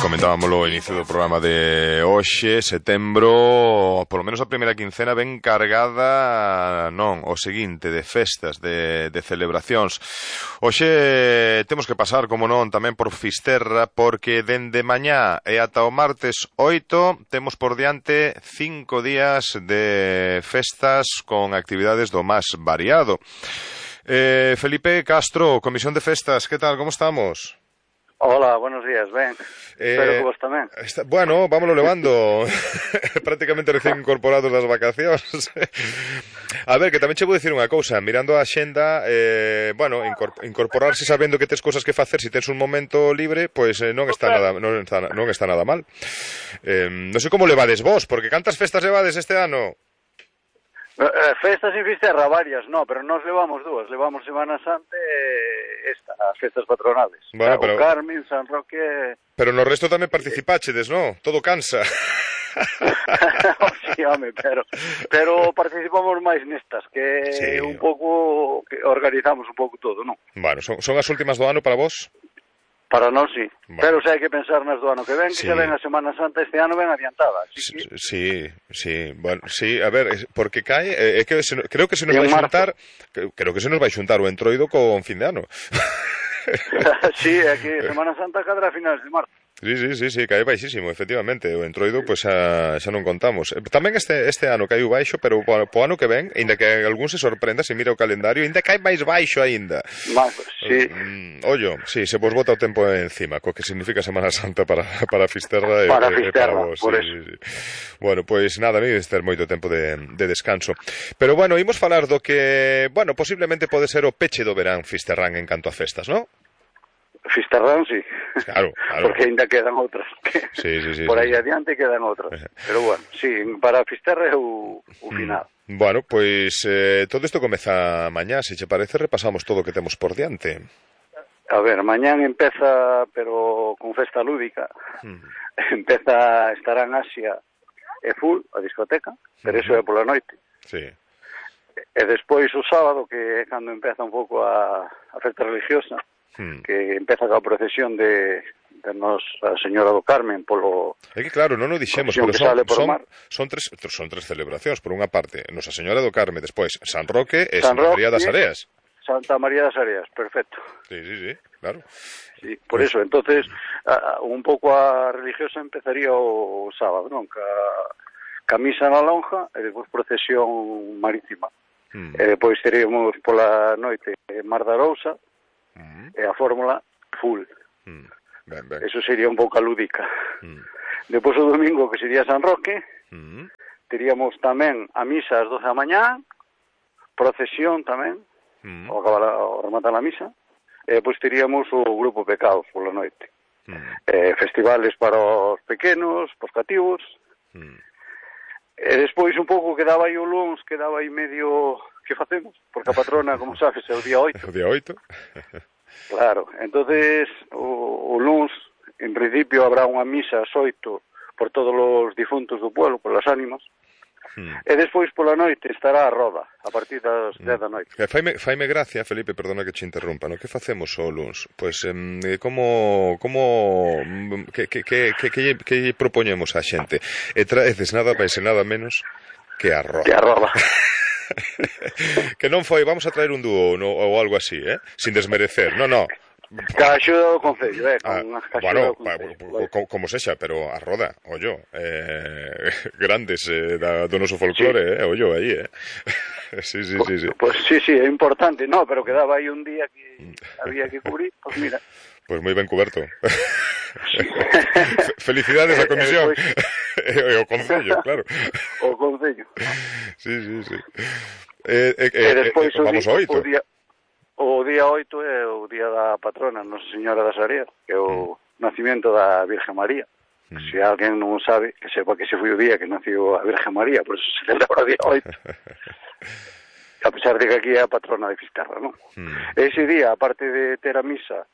Comentábamos o inicio do programa de hoxe, setembro, polo menos a primeira quincena ben cargada, non, o seguinte, de festas, de celebracións. Hoxe temos que pasar, como non, tamén por Fisterra, porque dende mañá e ata o martes 8 temos por diante 5 días de festas con actividades do máis variado. Felipe Castro, Comisión de Festas, que tal, como estamos? Hola, buenos días, ben. Espero que vos tamén. Bueno, vámonos levando. Prácticamente recén incorporados das vacacións. A ver, que tamén che vou dicir unha cousa. Mirando a xenda, bueno, incorporarse sabendo que tes cousas que facer, se tens un momento libre, pois non está nada mal. Non sei como levades vos, porque cantas festas levades este ano? Festas en Fisterra, varias, no, pero nos levamos dúas. Levamos Semana Santa e as festas patronales. Bueno, pero... O Carmen, San Roque... Pero no resto tamén participáchedes, non? Todo cansa. Sí, home, pero participamos máis nestas, que sí, un pouco que organizamos un pouco todo, non? Bueno, son as últimas do ano para vos? Para nós, sí. Bueno. Pero se hai que pensar nas do ano que ven, que xa ven a Semana Santa este ano ben adiantada. Que... Sí. Bueno, sí, a ver, porque cae... creo que se nos vai xuntar... Creo que se nos vai xuntar o entroido con fin de ano. Sí, aquí Semana Santa cadra a finales de marzo. Sí, cae baixísimo, efectivamente. O entroido, pois xa non contamos. Tamén este ano caiu baixo, pero po ano que ven, ainda que algún se sorprenda, se mira o calendario, ainda cae máis baixo ainda. Sí. Ollo, sí, se vos bota o tempo encima, co que significa Semana Santa para Fisterra para Fisterra, para vos. Por sí. Bueno, pois nada, non ter moito tempo de descanso. Pero bueno, imos falar do que, bueno, posiblemente pode ser o peche do verán fisterrán en canto a festas, non? Fisterrán, sí. Claro. Porque ainda quedan outras. Sí. Por aí adiante quedan outras. Pero bueno, sí, para Fisterra é o final. Bueno, pois todo isto comeza mañá, se che parece, repasamos todo o que temos por diante. A ver, mañán empeza, pero con festa lúdica. Empeza, estará en Asia e full, a discoteca, pero eso é pola noite. Sí. E despois o sábado, que é cando empeza un pouco a festa religiosa, que empeza coa procesión de Nosa Señora do Carmen polo... É que claro, non o dixemos, pero son tres celebracións. Por unha parte, Nosa Señora do Carmen, despois San Roque e Santa María das Areas. Santa María das Areas, perfecto. Sí, claro. Sí, por eso, entonces, un pouco a religiosa empezaría o sábado, non? Ca misa na lonja e depois procesión marítima. E depois teríamos pola noite Mar da Arousa, e a fórmula full. Ben. Eso sería un pouco lúdica. Depois o domingo, que sería San Roque, teríamos tamén a misa ás 12 da mañá, procesión tamén, ao rematar a misa, e depois teríamos o grupo Pecados pola noite. Festivales para os pequenos, para os cativos, e despois un pouco quedaba aí o luns, quedaba aí medio... que facemos? Porque a patrona, como sabes, é o día 8. O día 8. Claro, entonces o luns, en principio, habrá unha misa ás 8 por todos os difuntos do pueblo, por las ánimas, e despois pola noite estará a roda, a partir das 10 da noite. Faime gracia, Felipe, perdona que te interrumpa, no? Que facemos o luns? Pois, que propoñemos á xente? E traeces nada máis e nada menos que a roda. Que non foi, vamos a traer un dúo ou algo así, sin desmerecer, non. Ca axuda do Concello, bueno, como sexa, pero a roda, ollo, grandes do noso folclore, ollo aí, Sí. Pues sí, é importante, no, pero quedaba aí un día que había que cubrir, pues mira. Pues moi ben cuberto. Felicidades á comisión. E o Concello, claro. O Concello. Sí. E despois vamos ao 8. O día 8 é o día da patrona Nosa Señora das Areas, que é o nacimento da Virgen María. Se alguén non sabe, que sepa que se foi o día que nació a Virgen María, por eso se celebra o día 8. A pesar de que aquí é a patrona de Fisterra, non? Ese día, aparte de ter a misa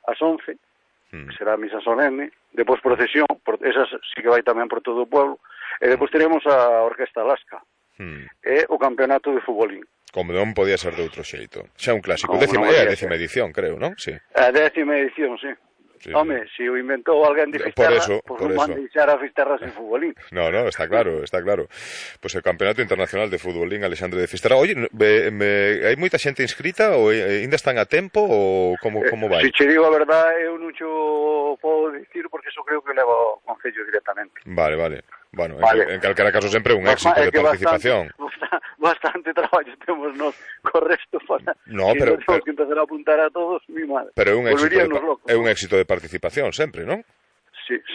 ás 11, que será a misa solemne, depois procesión, esa sí que vai tamén por todo o pueblo, e depois teremos a Orquesta Lasca, e o campeonato de futbolín. Como non podía ser de outro xeito. Xa un clásico. É a 10ª edición, creo, non? Sí. A 10ª edición, sí. Home, se o inventou alguén de Fisterra, pois non van deixar a Fisterra sen futbolín. No, está claro. Pois o Campeonato Internacional de Futbolín Alexandre de Fisterra. Oye, hai moita xente inscrita ou ainda están a tempo ou como vai? Se che digo a verdade, eu non cho podo dicir porque eso creo que leva o Concello directamente. Vale. Bueno, en calquera caso sempre un éxito de participación. Bastante traballo temos nos co resto para pero temos que empezar a apuntar a todos, mi madre. Pero é un éxito de participación sempre, non?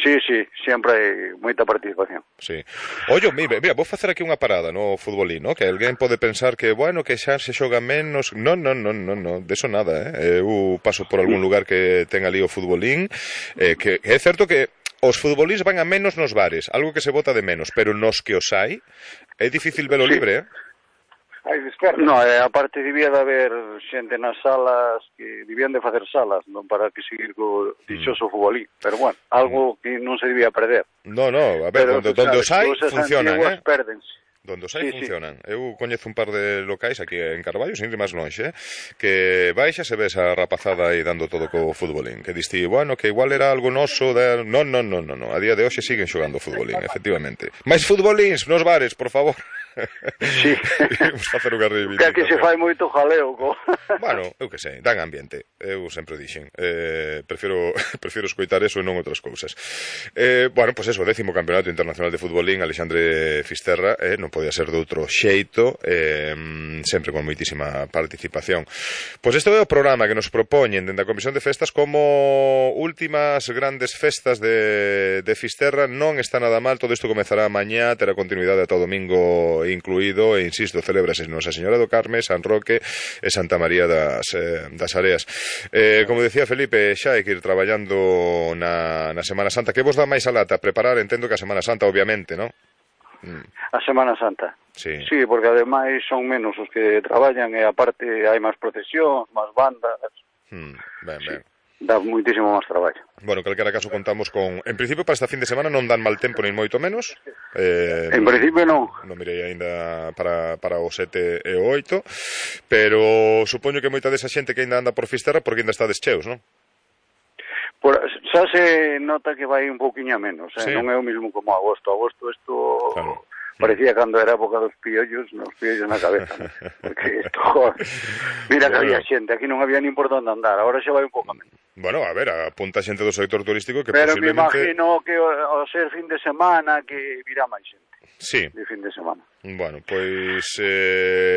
Sí, sempre hai moita participación. Sí. Ollo, mira, vou facer aquí unha parada no futbolín, ¿no? Que alguén pode pensar que, bueno, que xa se xoga menos. Non, de eso nada, Eu paso por algún lugar que ten ali o futbolín, que é certo que os futbolís van a menos nos bares, algo que se bota de menos, pero nos que os hai, é difícil velo libre, No, aparte debía de haber xente nas salas que debían de facer salas, non para que seguir co dichoso futbolín, pero bueno, algo que non se debía perder. No, a ver, donde os hai funcionan, Pérdense. Donde os hai funcionan. Eu coñezo un par de locais aquí en Carballo, sin ir máis lonxe, que baixas e ves a rapazada aí dando todo co futbolín, que diste, bueno, que igual era algo noso de... No, a día de hoxe siguen xogando futbolín, efectivamente. Mais futbolíns nos bares, por favor. Sí. Vamos facer unha reivindicación. Que se fai moito jaleo Bueno, eu que sei, dan ambiente. Eu sempre dixen, prefiro escoitar eso e non outras cousas. Bueno, pois eso, 10º Campeonato Internacional de Futbolín Alexandre Fisterra, non podía ser de outro xeito, sempre con moitísima participación. Pois este é o programa que nos propoñen dende a Comisión de Festas como últimas grandes festas de Fisterra. Non está nada mal, todo isto comezará mañá, terá continuidade ata o domingo incluído, e insisto, celébrase Nosa Señora do Carme, San Roque e Santa María das Areas. Como decía Felipe, xa hai que ir traballando na Semana Santa. Que vos dá máis a lata? Preparar, entendo que a Semana Santa, obviamente, non? A Semana Santa. Sí, porque ademais son menos os que traballan e aparte hai máis procesións, máis bandas. Ben. Dá moitísimo máis traballo. Bueno, en calquera caso contamos con... En principio, para esta fin de semana non dan mal tempo, nin moito menos. En principio non. Non mirei aínda para o 7 e o 8, pero supoño que moita desa xente que aínda anda por Fisterra porque aínda está descheos, non? Xa se nota que vai un pouquiño a menos, non é o mismo como agosto. Agosto isto... Claro. Parecía cando era a época dos piollos na cabeza, ¿no? Porque isto, mira que había xente, aquí non había nin por onde andar, agora xa vai un pouco menos. Bueno, a ver, apunta xente do sector turístico que pero posiblemente... me imagino que ao ser fin de semana que virá máis xente. Sí. De fin de semana. Bueno, pois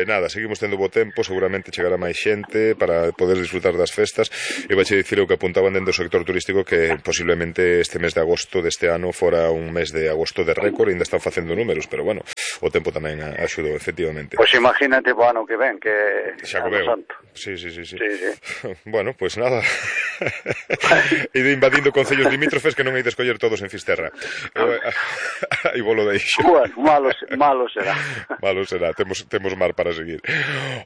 nada, seguimos tendo bo tempo, seguramente chegará máis xente para poder disfrutar das festas. E vaiche dicir o que apuntaban dentro do sector turístico que posiblemente este mes de agosto deste ano fora un mes de agosto de récord, ainda están facendo números, pero bueno, o tempo tamén axudou, efectivamente. Pois imagínate o ano que ven, que xa co veo. Sí. Bueno, pois nada. Ide invadindo concellos limítrofes que non hai de escoller todos en Fisterra. Aí volo deixo. Bueno, malo será. Malo será, temos mar para seguir.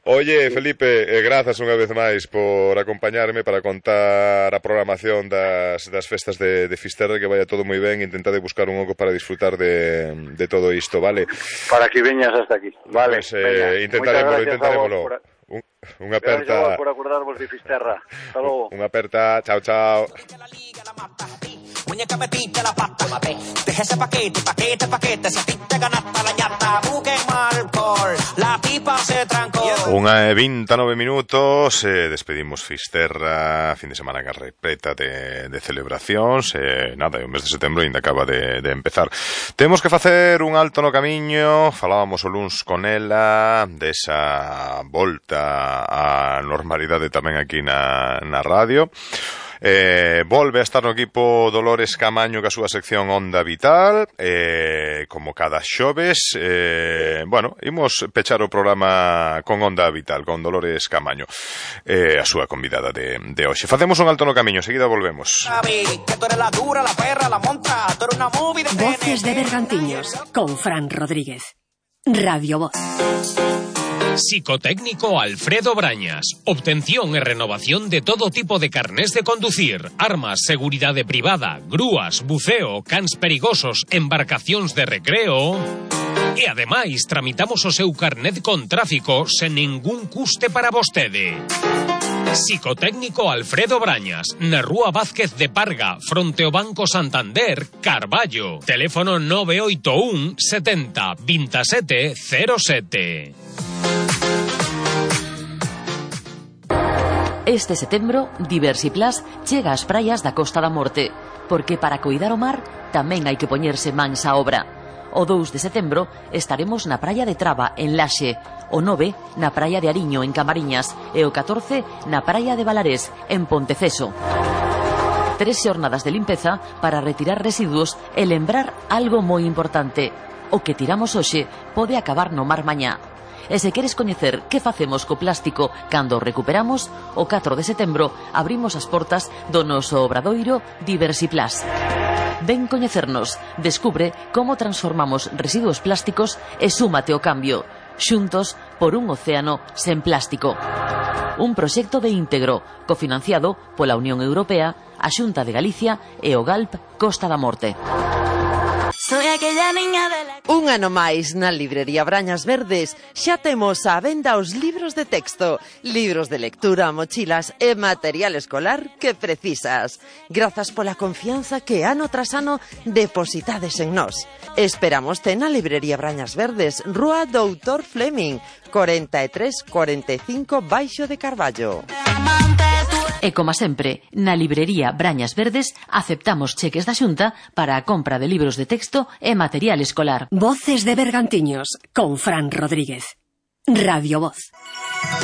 Oye, Felipe, grazas unha vez máis por acompañarme para contar a programación das festas de Fisterra, que vaya todo moi ben, intentade buscar un oco para disfrutar de todo isto, vale? Para que veñas hasta aquí, vale. Pues, intentaremoslo. Unha aperta. Gracias por acordarvos de Fisterra. Hasta logo. Unha aperta, chao. Muñeca metiste la pata, deja ese paquete, si a ti te ganaste la ñata, busquen alcohol, la pipa se trancó. 1:29 minutos, despedimos Fisterra, fin de semana carrepeta de celebracións, nada, o mes de setembro ainda acaba de empezar. Temos que facer un alto no camiño, falábamos o luns con ela, desa volta á normalidade tamén aquí na radio. Volve a estar no equipo Dolores Camaño ca súa sección Onda Vital, como cada xoves. Bueno, imos pechar o programa con Onda Vital, con Dolores Camaño, a súa convidada de hoxe. Facemos un alto no camiño, seguida volvemos. Voces de Bergantiños, con Fran Rodríguez. Radio Voz. Psicotécnico Alfredo Brañas. Obtención e renovación de todo tipo de carnés de conducir, armas, seguridade privada, grúas, buceo, cans perigosos, embarcacións de recreo. E ademais tramitamos o seu carnet con tráfico sen ningún custe para vostede. Psicotécnico Alfredo Brañas, na Rúa Vázquez de Parga, fronte ao Banco Santander, Carballo. Teléfono 981 70 27 07. Este setembro, Diversiplus chega ás praias da Costa da Morte, porque para coidar o mar tamén hai que poñerse mans á obra. O 2 de setembro estaremos na praia de Traba, en Laxe, o 9 na praia de Ariño, en Camariñas, e o 14 na praia de Valarés, en Ponteceso. 3 xornadas de limpeza para retirar residuos e lembrar algo moi importante: o que tiramos hoxe pode acabar no mar mañá. E se queres coñecer que facemos co plástico cando o recuperamos, o 4 de setembro abrimos as portas do noso obradoiro Diversiplus. Ven coñecernos, descubre como transformamos residuos plásticos e súmate ao cambio. Xuntos por un océano sen plástico. Un proxecto de íntegro, cofinanciado pola Unión Europea, a Xunta de Galicia e o GALP Costa da Morte. Soy aquella niña de la... Un ano máis na librería Brañas Verdes xa temos á venda os libros de texto, libros de lectura, mochilas e material escolar que precisas. Grazas pola confianza que ano tras ano depositades en nós. Esperámoste na librería Brañas Verdes, Rúa Doutor Fleming, 4345 Baixo de Carballo. E como sempre, na librería Brañas Verdes aceptamos cheques da Xunta para a compra de libros de texto e material escolar. Voces de Bergantiños, con Fran Rodríguez. Radio Voz.